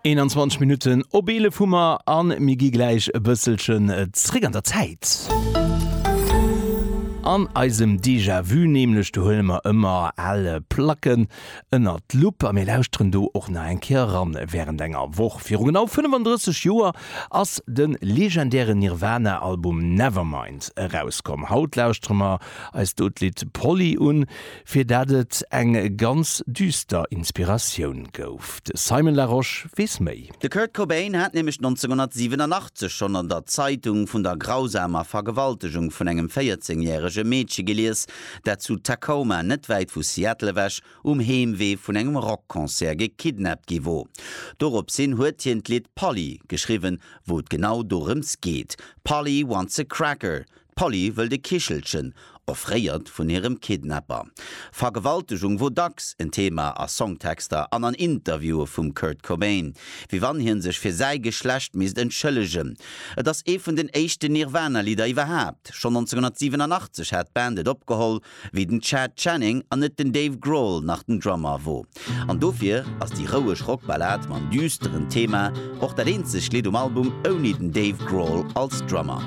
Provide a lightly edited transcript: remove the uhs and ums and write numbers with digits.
21 Minutten op 11 hu mer a mir gi gläich e bësselchen zréck an der Zäit. An eisem Déjà-vu nämlech, do huele mer ëmmer al Placken ënnert d'Lupp a mir lauschteren do och nach eng Kéier eran. Wärend enger Woch viru genau 35 Joer ass de legendären Nirvana-Album Nevermind erauskomm. Haut lauschtere mer eis do d'Lidd Polly un, fir dat et eng ganz düster Inspiratioun gouf. De Simon Larosche weess méi. De Kurt Cobain hat nämlech 1987 schonn an der Zeitung vun der grausamer Vergewaltegung vun engem 14 järege Meedche gelies, dat zu Tacoma, net wäit vu Seattle ewech, um Heemwee vun engem Rockconcert gekidnappt gi wor. Dorops hin huet hien d'Lidd Polly geschriwwen, wou et genau dorëms geet, Polly wants a cracker, D'Polly wëllt e Kichelchen, offréiert vun hirem Kidnapper. Vergewaltegung wor dacks en Thema a Songtexter an an Interviewe vum Kurt Cobain, wéi wann hien sech fir säi Geschlecht misst entschëllegen. Et ass ee vun den éischten Nirvana-Lidder iwwerhaapt. Schonn 1987 hat d'Band et opgeholl, wéi den Chad Channing an net den Dave Grohl nach den Drummer wor. An dofir ass déi roueg Rockballad mam düsteren Thema och dat eenzegt Lidd um Album ouni den Dave Grohl als Drummer.